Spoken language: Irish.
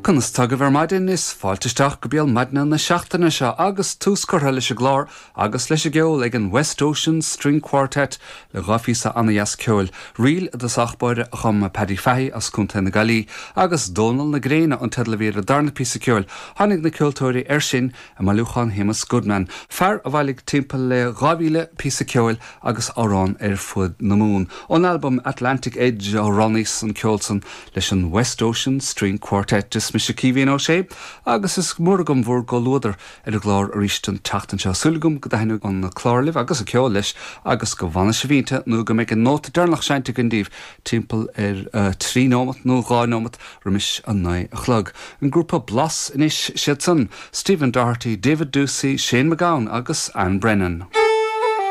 Conas tá agaibh ar maidin? Is fáilte isteach go béal maidine na seachtaine seo agus tús curtha leis an gclár agus leis an gceol ag an West Ocean String Quartet le dha phíosa ana-dheas ceoil, Ríl i dtosach báire a chum Paddy Fahy as Contae na Gaillimhe agus Dónal na Gréine an teideal a bhí ar an darna píosa ceoil. Tháinig na ceoltóirí air sin i mbailiúchán Shéamus Goodman, fear a bhailigh timpeall le 2,000 píosa ceoil agus amhrán ar fuaid na Mumhan. Ón albam Atlantic Edge a roghnaíos an ceol san leis an West Ocean String Quartet. Is mise Caoimhín Ó Sé agus is mór agam bhur gcomhluadar ar an gclár arís an tseachtain seo. Súil agam go dtaitneoidh an clár libh agus an ceol leis agus go bhfanfaidh sibh inti nó go mbeidh an nóta deireanach seinnte againn daoibh timpeall ar thrí nóimeat nó dhá nóimeat roimis a naoi a chlog. An grúpa Blas anois, siad san, Stephen Doherty, David Doocey, Shane MacGowan agus Anne Brennan.